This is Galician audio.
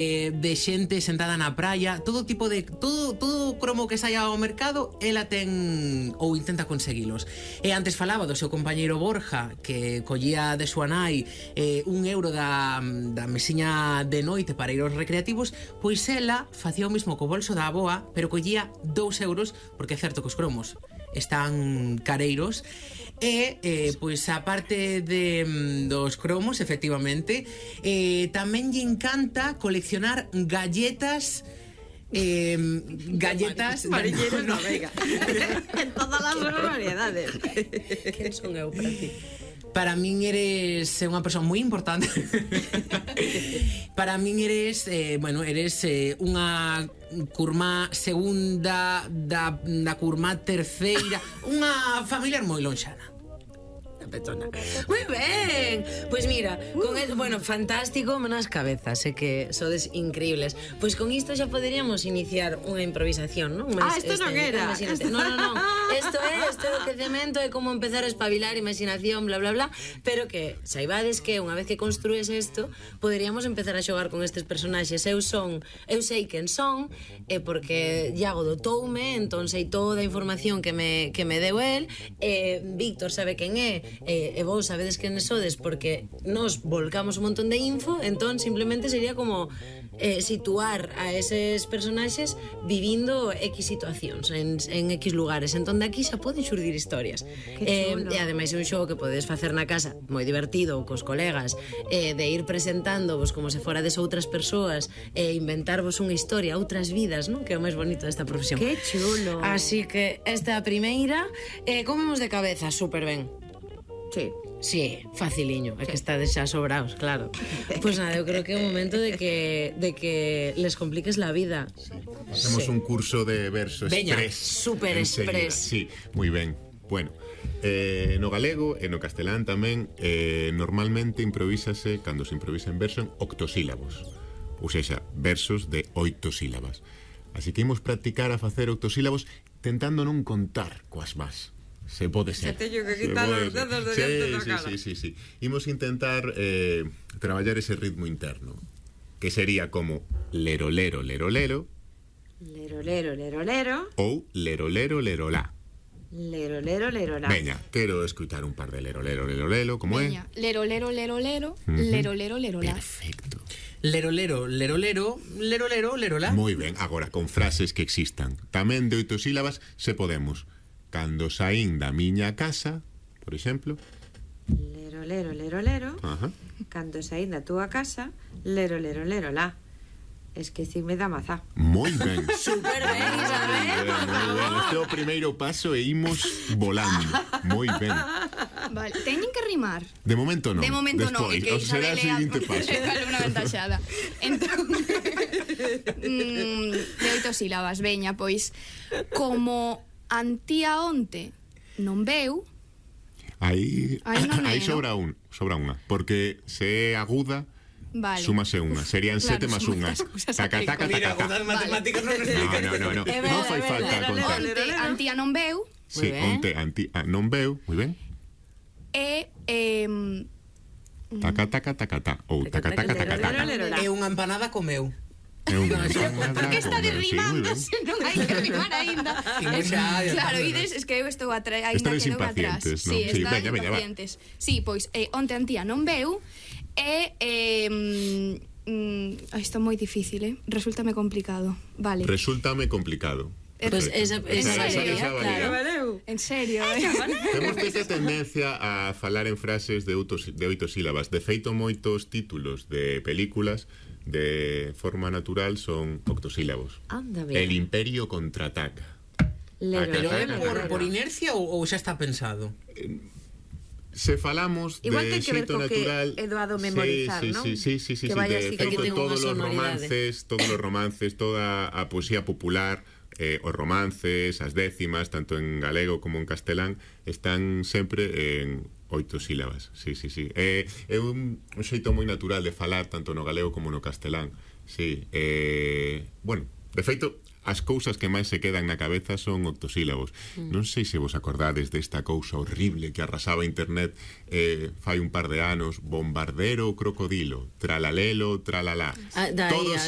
de xente sentada na praia, todo tipo de todo cromo que saia ao mercado, ela ten ou intenta conseguilos. E antes falaba do seu compañeiro Borja, que collía de súa nai €1 da mesiña de noite para ir aos recreativos, pois ela facía o mismo co bolso da aboa, pero collía €2, porque é certo que os cromos están careiros. E, pois, a parte dos cromos, efectivamente, tamén lle encanta coleccionar galletas. Galletas Mariñeros na Vega. En todas as variedades. Quen son eu para ti? Para min eres unha persoa moi importante. Para min eres, eres unha curmá segunda da curmá terceira, unha familiar moi lonxana. Petona. Moi ben. Pois mira, con el, bueno, fantástico, menos cabezas, sé que sodes increíbles. Pois con isto xa poderíamos iniciar unha improvisación, non? Isto non era. Non. Isto é o quecemento, é como empezar a espabilar imaginación, bla, bla, bla, pero que saibades que unha vez que construes isto, poderíamos empezar a xogar con estes personaxes. Eu sei quen son, porque Iago dotoume, entón sei toda a información que me deu el, Víctor sabe quen é, e vos sabedes quen sodes porque nos volcamos un montón de info, entón simplemente sería como situar a eses personaxes vivindo X situacións en X lugares, entón de aquí xa poden xurdir historias. E ademais é un xogo que podes facer na casa moi divertido cos colegas, de ir presentándovos como se forades outras persoas e inventarvos unha historia, outras vidas, non? Que é o máis bonito desta profesión. Que chulo. Así que esta primeira comemos de cabeza super ben. Sí, faciliño, é que estades xa sobraos, claro. Pois nada, eu creo que é o momento de que les compliques la vida. Hacemos un curso de verso express. Super express. Sí, moi ben. Bueno, no galego e no castelán tamén normalmente improvísase, cando se improvisa en verso, en octosílabos. Ou seja, versos de 8 sílabas. Así que imos practicar a facer octosílabos tentando non contar coas más. Se pode ser. Se teño que quitar os dedos de diante da cara. Sí. Imos intentar traballar ese ritmo interno, que sería como lero, lero, lero, lero. Lero, lero, lero, lero. Ou lero, lero, lero, la. Lero, lero, lero, la. Veña, quero escutar un par de lero, lero, lero, lero. Como é? Lero, lero, lero, lero. Lero, lero, lero, la. Perfecto. Lero, lero, lero, lero. Lero, lero, lero, la. Moi ben, agora con frases que existan tamén de 8 sílabas, se podemos. Cando saín da miña casa, por exemplo. Lero, lero, lero, lero. Ajá. Cando saín da túa casa, lero, lero, lero, la. Esquecime da mazá. Moi ben. Super ben, Isabel, por favor. Este é o primeiro paso e imos volando. Moi ben. Vale, teñen que rimar. De momento non. De momento non, despois, que será o seguinte paso. Vale, unha ventaxada. Entón, de 8 sílabas, veña, pois, como antía onte non veu. Aí non é, sobra unha, porque se é aguda, vale, súmase unha, serían 7 Claro, máis son unha. moitas cousas Taca, aquí. taca, Mira, taca, con taca. as matemáticas non explica. No. Non fai falta contar. Onte antía non veu. Sí, onte non veu, moi ben. E Taca, taca, taca, taca. Ou taca, taca, taca, taca. É unha empanada comeu. É unha por que está derrimando se non hai que rimar aínda? Claro, ides, es que eu estou atrás, aínda Estades quedo atrás. impacientes, non? Sí, Sí, están veña, va. impacientes. Sí, pois, onte antía non veu e isto é moi difícil, Resúltame complicado. Vale. Resúltame complicado. Pues esa valía. claro. En serio, Temos esta tendencia a falar en frases de 8 sílabas. De feito, moitos títulos de películas de forma natural son octosílabos. Anda, mira. El Imperio contraataca. Pero é por inercia ou xa está pensado? Se falamos igual de ten que ver xeito co natural, que é doado memorizar, non? Sí, Que vaya así de feito como todos os sonoridade. romances, toda a poesía popular, os romances, as décimas, tanto en galego como en castelán, están sempre en 8 sílabas. Sí. É un xeito moi natural de falar tanto no galego como no castelán. Sí, bueno, De feito, as cousas que máis se quedan na cabeza son octosílabos. Non sei se vos acordades desta cousa horrible que arrasaba internet fai un par de anos, bombardero crocodilo, tralalelo, tralalá. Daía,